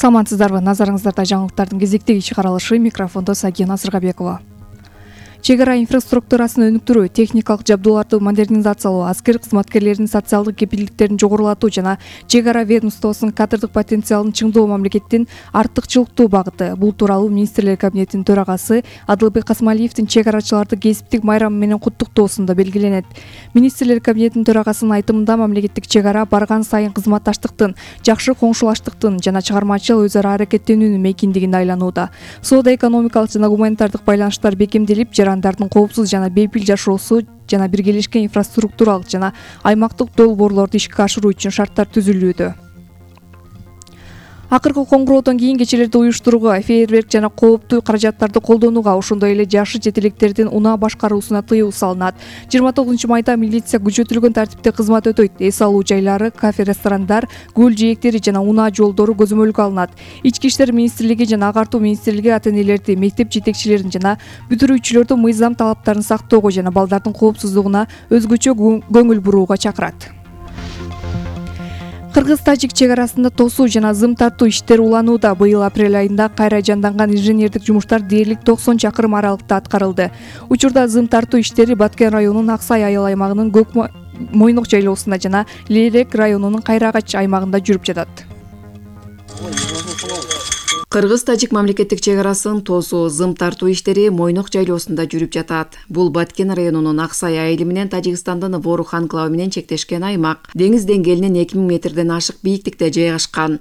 Саламатсыздарбы, назарыңыздарда жаңылыктардын кезектеги чыгарылышы, микрофондо Сагина Сыргабекова. Чек ара инфраструктурасын өнүктүрүү, техникалык жабдууларды модернизациялоо, аскер кызматкерлеринин социалдык кепилдиктерин жогорулатуу жана чек ара ведомствосунун кадрдык потенциалын чыңдоо мамлекеттин артыкчылыктуу багыты. Бул тууралуу министрлер кабинетинин төрагасы Адылбек Касмалиевдин чек арачыларды кесиптик майрамы менен куттуктоосунда белгиленет. Министрлер кабинетинин төрагасынын айтымында мамлекеттик чек ара барган сайын кызматташтыктын, жакшы коңшулаштыктын жана чыгармачыл өз ара аракеттенүүнүн мейкиндигине айланууда. Соода-экономикалык жана гуманитардык байланыштар бекемделип, жарандардын коопсуз жана бейпил жашоосу жана биргелешкен инфраструктуралык жана аймактык долбоорлорду ишке ашыруу үчүн шарттар түзүлүүдө. Акыркы коңгуроодон кийин кечелерди уюштурууга, фейерверк жана кооптуу каражаттарды колдонууга, ошондой эле жашы жетелектердин унаа башкаруусуна тыюу салынат. 29-майда милиция күчөтүлгөн тартипте кызмат өтөйт. Эс алуу жайлары, кафе, ресторандар, көл жээктери жана унаа жолдору көзөмөлгө алынат. Ички иштер министрлиги жана агартуу министрлиги ата-энелерди, мектеп жетекчилерин жана бүтүрүүчүлөрдү мыйзам талаптарын сактоого жана балдардын коопсуздугуна өзгөчө көңүл бурууга чакырат. Кыргыз-тажик чек арасында тосуу жана зым тартуу иштери уланууда. Быйыл апрель айында кайра жанданган инженердик жумуштар дээрлик 90 чакырым аралыкта аткарылды. Учурда зым тартуу иштери Баткен районунун Аксай айыл аймагынын Мойнок жайлоосунда жана Лейлек районунун Кайрагач аймагында жүрүп жатат. Кыргыз-тажик мамлекеттик чек арасын тосуу, зым тартуу иштери Мойнок жайлоосунда жүрүп жатат. Бул Баткен районунун Аксай айылы менен Тажикстандын Ворух анклавы менен чектешкен аймак. Деңиз деңгээлинен 2000 метрден ашык бийиктикте жайгашкан.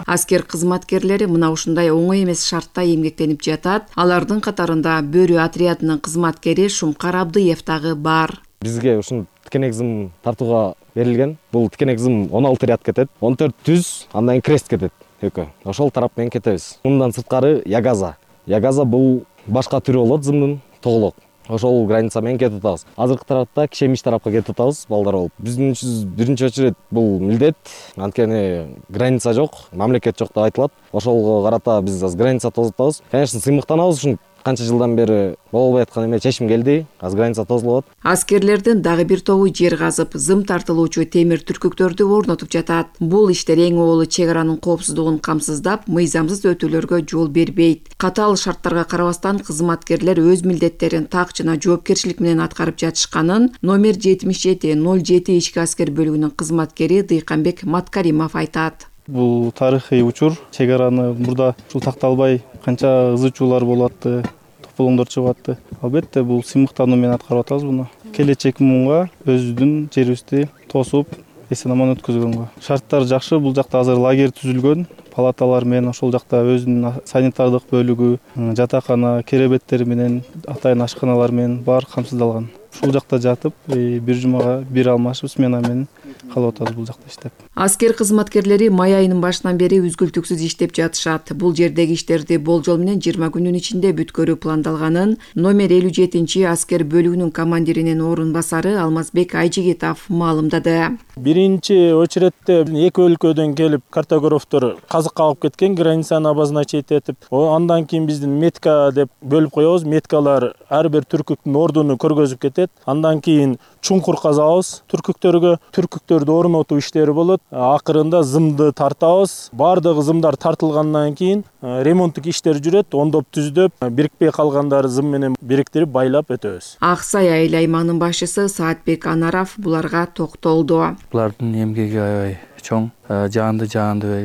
Аскер кызматкерлери мына ушундай оңой эмес шартта эмгектенип жатат. Алардын катарында Бөрү отрядынын кызматкери Шумкар Абдыев дагы бар. Бизге ушун тикенек зым тартууга берилген. Бул тикенек зым 16 ряд кетет, 14 түз, андан крест кетет экөө. Ошол тарап менен кетебиз. Мындан сырткары ягаза. Ягаза бул башка түрү болот зымдын, тоголок. Ошол граница менен кетип атабыз. Азыркы тарапта Кишемиш тарапка кетип атабыз балдар болуп. Биздин биринчи очередь бул милдет. Анткени граница жок, мамлекет жок деп айтылат. Ошолго карата биз аз граница тосуп атабыз. Конечно, сыймыктанабыз ушун канча жылдан бери болбой аткан эме чечим келди. Аз граница тосулат. Аскерлердин дагы бир тобу жер казып, зым тартылуучу темир түркүктөрдү орнотуп жатат. Бул иштер эң оолу чек аранын коопсуздугун камсыздап, мыйзамсыз өтүүлөргө жол бербейт. Катаал шарттарга карабастан кызматкерлер өз милдеттерин так жана жоопкерчилик менен аткарып жатышканын номер 7707 ички аскер бөлүгүнүн кызматкери Дыйканбек Маткаримов айтат. Бул тарыхый учур. Чек араны мурда ушул такталбай канча ызычуулар болуп атты, тополоңдор чыгып атты. Албетте бул сыймыктануу менен аткарып атабыз буну. Келечек муунга өзүбүздүн жерибизди тосуп, эсен-аман өткөзгөнгө. Шарттар жакшы. Бул жакта азыр лагерь түзүлгөн. Палаталар менен ошол жакта өзүнүн санитардык бөлүгү, жатакана, керебеттери менен, атайын ашканалар менен бар камсыздалган. Ушул жакта жатып, бир жумага бир алмашып смена менен калып атабыз бул жакта иштеп. Аскер кызматкерлери май айынын башынан бери үзгүлтүксүз иштеп жатышат. Бул жердеги иштерди болжол менен 20 күнүн ичинде бүткөрүү пландалганын номер 57 аскер бөлүгүнүн командиринин орун басары Алмазбек Айжигитов маалымдады. Биринчи очередте эки өлкөдөн келип картографтор казыкка алып кеткен, границаны обозначить этип, андан кийин биздин метка деп бөлүп коебуз. Меткалар ар бир түркүктүн ордуну көргөзүп кетет. Андан кийин чуңкур казабыз түркүктөргө. Түркүктөрдү орнотуу иштери болот. Акырында зымды тартабыз. Бардыгы зымдар тартылгандан кийин ремонттук иштер жүрөт. Ондоп түздөп, бирикпей калгандары зым менен бириктирип байлап өтөбүз. Аксай айыл аймагынын башчысы Саатбек Анаров буларга токтолду. Булардын эмгеги аябай чоң. Жаанды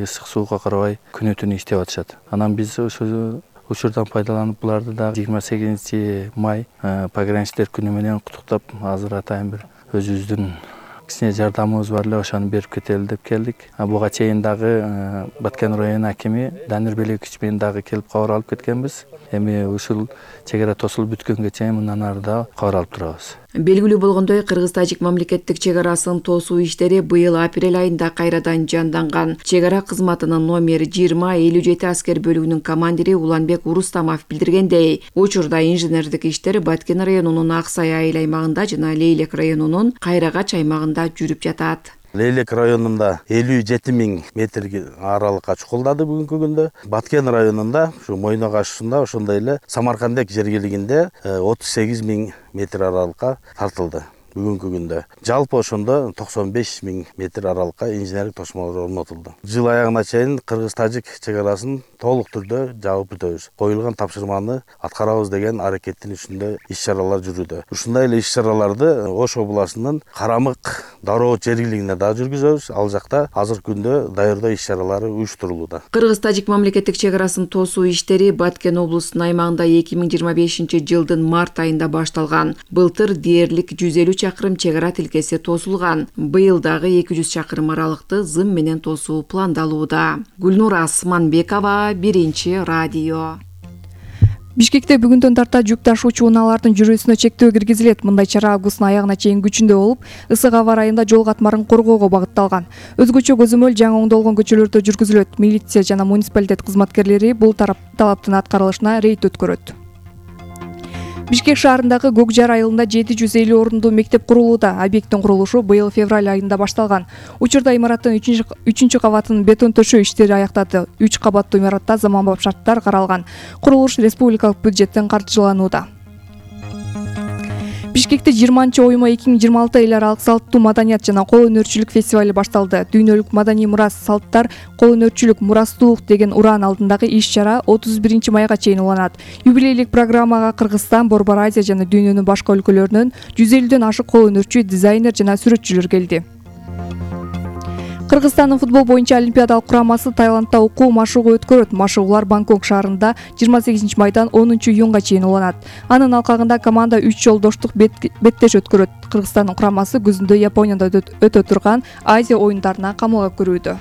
ысык сууга карабай күнү-түнү иштеп атышат. Анан биз ошол учурдан пайдаланып буларды да 28 май пограничтер күнү менен куттуктап, азыр атайын бир өзүбүздүн кичине жардамыбыз бар эле, ошону берип кетели деп келдик. Буга чейин дагы Баткен районунун акими Данир Белекич менен дагы келип кабар алып кеткенбиз. Эми ушул чек ара тосулуп бүткөнгө чейин мындан ары да кабар алып турабыз. Белгилүү болгондой, Кыргыз-тажик мамлекеттик чек арасын тосуу иштери быйыл апрель айында кайрадан жанданган. Чек ара кызматынын номер 2057 аскер бөлүгүнүн командири Уланбек Урустамов билдиргендей, учурда инженердик иштер Баткен районунун Аксай айыл аймагында жана Лейлек районунун Кайрагач аймагында жүрүп жатат. Лейлек районунда 57 000 метр аралыкка чукулдады бүгүнкү күндө. Баткен районунда, ушу Мойнок ашуусунда, ошондой эле Самаркандек жергилигинде 38 000 метр аралыкка тартылды. бүгүнкү күндө. Жалпы ошондо 95 000 метр аралыкка инженерлик тосмолор орнотулду. Жыл аягына чейин кыргыз-тажик чек арасын толук түрдө жаап бүтөбүз. Коюлган тапшырманы аткарабыз деген аракеттин үстүндө иш-чаралар жүрүүдө. Ушундай эле иш-чараларды Ош областынын Карамык дароо жергилигинде да жүргүзөбүз. Ал жакта азыркы күндө даярдоо иш-чаралары уюштурулууда. Кыргыз-тажик мамлекеттик чек арасын тосуу иштери Баткен облусунун аймагында 2025-жылдын март айында башталган. Былтыр дээрлик 150 чакырым чек ара тилкеси тосулган. Быйыл дагы 200 чакырым аралыкты зым менен тосуу пландалууда. Гүлнура Асманбекова, Биринчи радио. Бишкекте бүгүндөн тарта жүк ташуучу унаалардын жүрүүсүнө чектөө киргизилет. Мындай чара августтун аягына чейин күчүндө болуп, ысык аба ырайында жол катмарын коргоого багытталган. Өзгөчө көзөмөл жаңы оңдолгон көчөлөрдө жүргүзүлөт. Милиция жана муниципалитет кызматкерлери бул талаптын аткарылышына рейд өткөрөт. Бишкек шаарындагы Көк Жар айылында 750 орундуу мектеп курулууда. Объекттин курулушу быйыл февраль айында башталган. Учурда имараттын 3 кабатынын бетон төшөө иштери аякталды. 3 кабаттуу имаратта заманбап шарттар каралган. Курулуш республикалык бюджеттен каржыланууда. Бишкекте 20-оймо 2026 эл аралык салттуу маданият жана кол өнөрчүлүк фестивали башталды. Дүйнөлүк маданий мурас салттар, кол өнөрчүлүк, мурастуулук деген ураан алдындагы иш-чара 31-майга чейин уланат. Юбилейлик программага Кыргызстан, Борбор Азия жана дүйнөнүн башка өлкөлөрүнөн 150дөн ашык кол өнөрчү, дизайнер жана сүрөтчүлөр келди. Кыргызстандын футбол боюнча олимпиадалык курамасы Таиландда окуу машыгуу өткөрөт. Машыгуулар Бангкок шаарында 28-майдан 10-июнга чейин уланат. Анын алкагында команда 3 жолдоштук беттеш өткөрөт. Кыргызстандын курамасы күзүндө Японияда өтө турган Азия оюндарына камылга көрүүдө.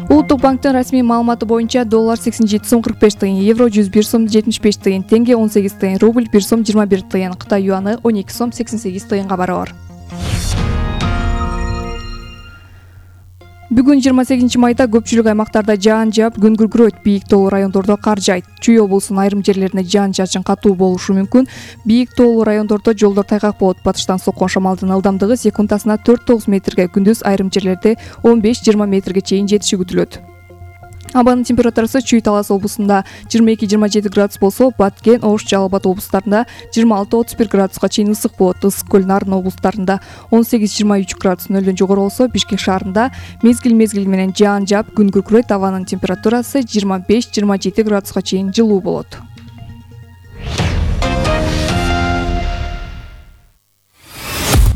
Улуттук банктын расмий маалыматы боюнча доллар 87 сом 45 тыйын, евро 101 сом 75 тыйын, тенге 18 тыйын, рубль 1 сом 21 тыйын, Кытай юаны 12 сом 88 тыйынга барабар. Бүгүн 28-майда көпчүлүк аймактарда жаан жаап, күн күркүрөйт. Бийик тоолуу райондордо кар жаайт. Чүй облусунун айрым жерлерине жаан-чачын катуу болушу мүмкүн. Бийик тоолуу райондордо жолдор тайгак болот. Батыштан соккон шамалдын ылдамдыгы секундасына 4-9 метрге, күндүз айрым жерлерде 15-20 метрге чейин жетиши күтүлөт. Абанын температурасы Чүй Талас облусунда 22-27 градус болсо, Баткен, Ош, Жалал Абад облустарында 26-31 градуска чейин ысык болот. Ысык көл, Нарын облустарында 18-23 градус нөлдөн жогору болсо, Бишкек шаарында мезгил менен жаан жаап, күн күркүрөйт. Абанын температурасы 25-27 градуска чейин жылуу болот.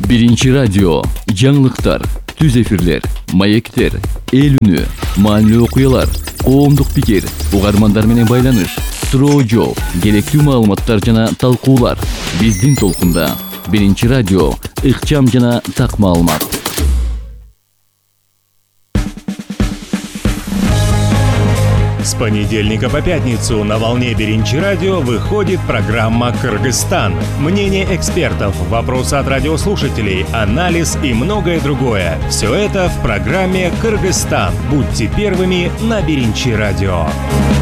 Биринчи радио, жаңылыктар, түз эфирлер, маектер, эл үнү, маанилүү окуялар, коомдук пикир, угармандар менен байланыш, суроо жооп, керектүү маалыматтар жана талкуулар. Биздин толкунда Биринчи радио, ыкчам жана так маалымат. С понедельника по пятницу на волне Биринчи радио выходит программа «Кыргызстан». Мнение экспертов, вопросы от радиослушателей, анализ и многое другое. Все это в программе «Кыргызстан». Будьте первыми на Биринчи радио.